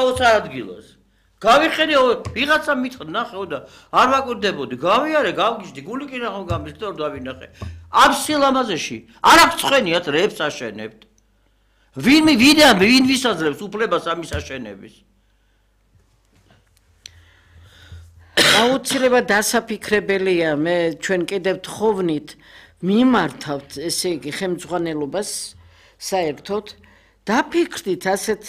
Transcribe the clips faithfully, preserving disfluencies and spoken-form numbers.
გაუცა ადგილას. გავიხედე ვიღაცა მithod ნახეო და არ ვაკვირდებოდი. გავიარე, გავგიჟდი, გული კი ნახო გამის და დავინახე. ამ სილამაზეში არ აქვს ცხენიათ რეებს აშენებთ. ვინ ვინ ვინ ვისაძლებს უფლებას ამის აშენების? აუცილებლად დასაფიქრებელია მე ჩვენ კიდევ თხოვნით მიმართავთ ესე იგი ხელმძღვანელობას საერთოდ დაფიქრდით ასეთ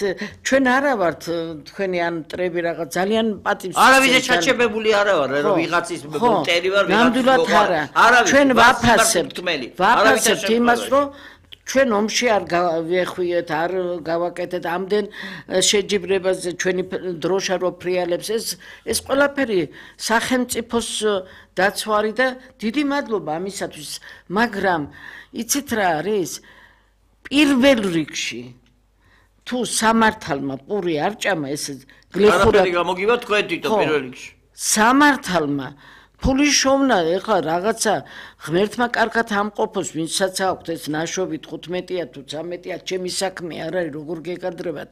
ჩვენ არა ვართ თქვენი ან მტრები რაღაც ძალიან პატივს არავის ჩაჩებებული არა ვარ რომ ვიღაცის მტერი ვარ ნამდვილად არა ჩვენ ვაფასებთ ვაფასებთ იმას რომ ჩვენ ომში არ გავეხვიეთ არ გავაკეთეთ ამდენ შეჯიბრებაზე ჩვენი დროშა რო ფრიალებს ეს ეს ყველაფერი სახელმწიფოს დაცვარი და დიდი მადლობა ამისათვის მაგრამ იცით რა არის პირველ რიგში თუ სამართალმა პური არ ჭამა ეს გლეხურად არაფერი გამოგივა თქვენ თვითონ პირველ რიგში სამართალმა ფული შოვნა ეხლა რაღაცა ღმერთმა კარგად ამყოფოს ვინცაც აქვთ ეს ნაშობი თხუთმეტია თუ ცამეტია ჩემი საქმე არ არის როგორ გეკადრებათ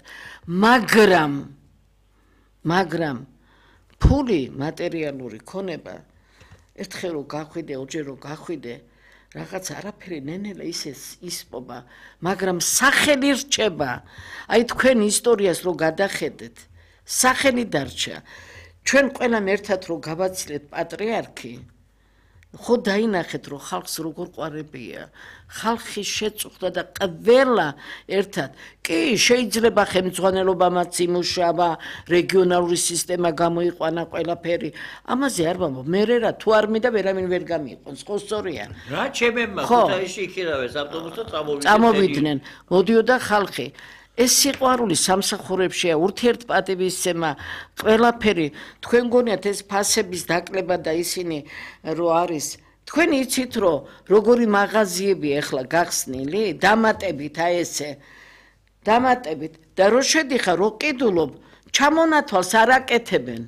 მაგრამ მაგრამ ფული მატერიალური ქონება ერთხელ რო გახვიდე ორჯერ რო გახვიდე რაღაც არაფერი ნენელა ისე ისპობა მაგრამ სახელი რჩება აი თქვენ ისტორიას რო გადახედეთ სახელი დარჩა ჩვენ ყველამ ერთად რო გავაცილეთ პატრიარქი ხო დაინახეთ რომ ხალხს როგორ ყვარებია ხალხი შეწუხდა და ყველა ერთად კი შეიძლება ხელმძღვანელობამაც იმუშავა რეგიონალური სისტემა გამოიყვანა ყველაფერი ამაზე არ ვამბობ მე რა თუ არ მინდა ვერავინ ვერ გამიყვანს ხო სწორია რა ჩემებმა ქუთაისში იქირავეს ავტობუსთან წამოვიდნენ წამოვიდნენ მოდიოდა ხალხი ეს სიყვარული სამსახურებშია ურთიერთპატივისცემა ყველაფერი თქვენ გონიათ ეს ფასების დაკლება და ისინი რო არის თქვენ იცით რომ როგორი მაღაზიები ახლა გახსნილი დამატებით აი ესე დამატებით და რო შედიხარ რო ყიდულობ ჩამონათვალს არ აკეთებენ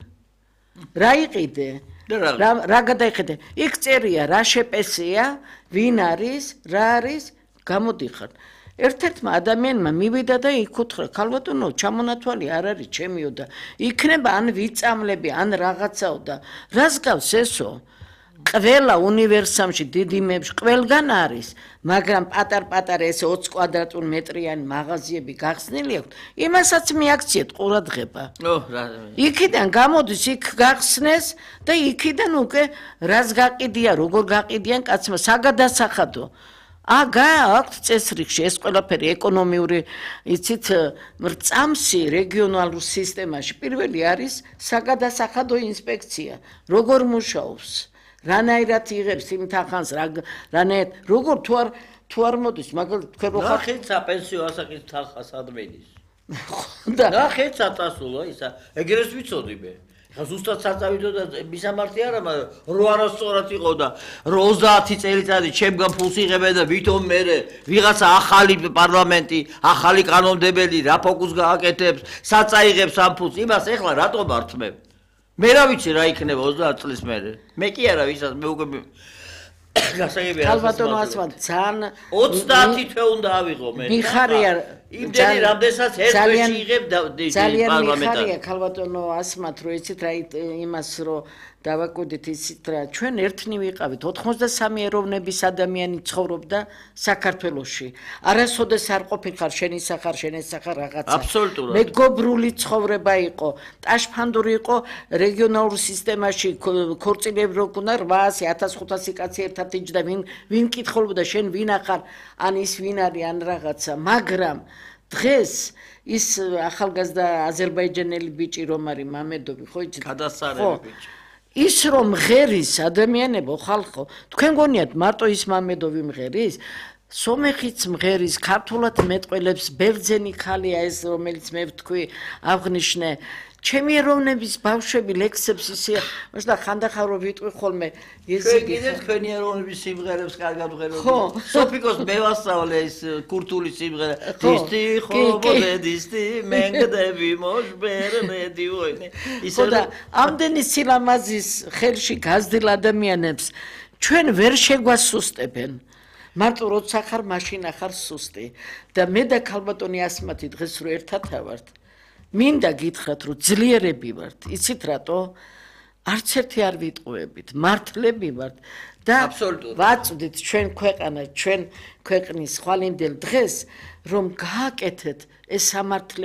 რა იყიდე რა რა გადაიხედე იქ წერია რა შეპესია ვინ არის რა არის გამოდიხარ ერთ-ერთმა ადამიანმა მივიდა და იკუთხრა ქალბატონო ჩამონათვალი არ არის ჩემიო და იქნება ან ვიწამლები ან რაღაცაო და რას გავს ესო ყველა უნივერსამში დიდი მეებში ყველგან არის მაგრამ პატარ-პატარა ესე ოცი კვადრატული მეტრიანი მაღაზიები გახსნილი აქვს იმასაც მიაქციეთ ყურადღება ო რა იქიდან გამოდის იქ გახსნეს და იქიდან უკვე რას გაყიდია როგორ გაყიდიან კაცმა საგადასახადო აგა აქვს წესრიგში ეს ყველაფერი ეკონომიური იცით მრწამსი რეგიონალურ სისტემაში პირველი არის საგადასახადო ინსპექცია როგორ მუშაობს რანაირად იღებს იმ თანხას რანაირად როგორ თუ არ თუ არ მოდის მაგალითად თქვენ რო ხარ ნახეთ საპენსიო ასაკის თანხას ადმინის და ნახეთ საწასულო ისა ეგრეს ვიცოდი მე ხა ზუსტად საწავიდო და მისამართი არა მაგრამ რო არასწორად იყო და ოცდაათი წელიწადი ჩემგან ფულს იღებენ და ვითომ მე ვიღაცა ახალი პარლამენტი ახალი კანონმდებელი რა ფოკუს გააკეთებს საწაიღებს ამ ფულს იმას ეხლა რატო მართმევ მე რა ვიცი რა იქნება ოცდაათი წლის მერე მე კი არა ვისაც მე უკვე გასაგებია ქალბატონო ასმან ძალიან ოცდაათი თვე უნდა ავიღო მე მიხარია იმდენი რამდენსაც ერთ თვეში იღებ ძალიან მიხარია ქალბატონო ასმათ რომ იცით რა იმას რომ დავაკვირდით იცით რა ჩვენ ერთნი ვიყავით ოთხმოცდასამი ეროვნების ადამიანი ცხოვრობდა საქართველოში არასოდეს არ ყოფილიყარ შენი სახარ შენი სახარ რაღაცა აბსოლუტურად მეგობრული ცხოვრება იყო ტაშფანდური იყო რეგიონალურ სისტემაში ქორწილები რო ქონა რვაასი ათას ხუთასი კაცი ერთად იჯდა ვინ ვინ კითხულობდა შენ ვინ ახარ ან ის ვინ არის ან რაღაცა მაგრამ დღეს ის ახალგაზრდა აზერბაიჯანელი ბიჭი რომ არის მამედოვი ხო იცით გადასარევი ბიჭი ის რომ მღერის ადამიანებო ხალხო თქვენ გონიათ მარტო ის მამედოვი მღერის სომეხიც მღერის ქართულად მეტყველებს ბერძენი ხალია ეს რომელიც მე ვთქვი აღნიშნე ჩემი ეროვნების ბავშვები ლექსებს ისე მაშინ ხანდახან რომ ვიტყვი ხოლმე ესე კიდე თქვენი ეროვნების სიმღერებს კარგად ვღეროდი სოფიკოს მე ვასწავლე ეს ქურთული სიმღერა დისტი ხობოდე დისტი მენგდები მოშბერნედი ვოინე ისე და ამდენი სილამაზის ხელში გაზრდილ ადამიანებს ჩვენ ვერ შეგვასუსტებენ მარტო როცა ხარ მაშინ ახარ სუსტი და მე და ქალბატონი ასმათი დღეს რო ერთად ავართ მინდა გითხრათ, რომ ძლიერები ვართ, იცით რატო? არც ერთი არ ვიტყუებით, მართლები ვართ და ვაწვდით ჩვენ ქვეყანა, ჩვენ ქვეყნის ხვალინდელ დღეს, რომ გააკეთეთ ეს სამართლე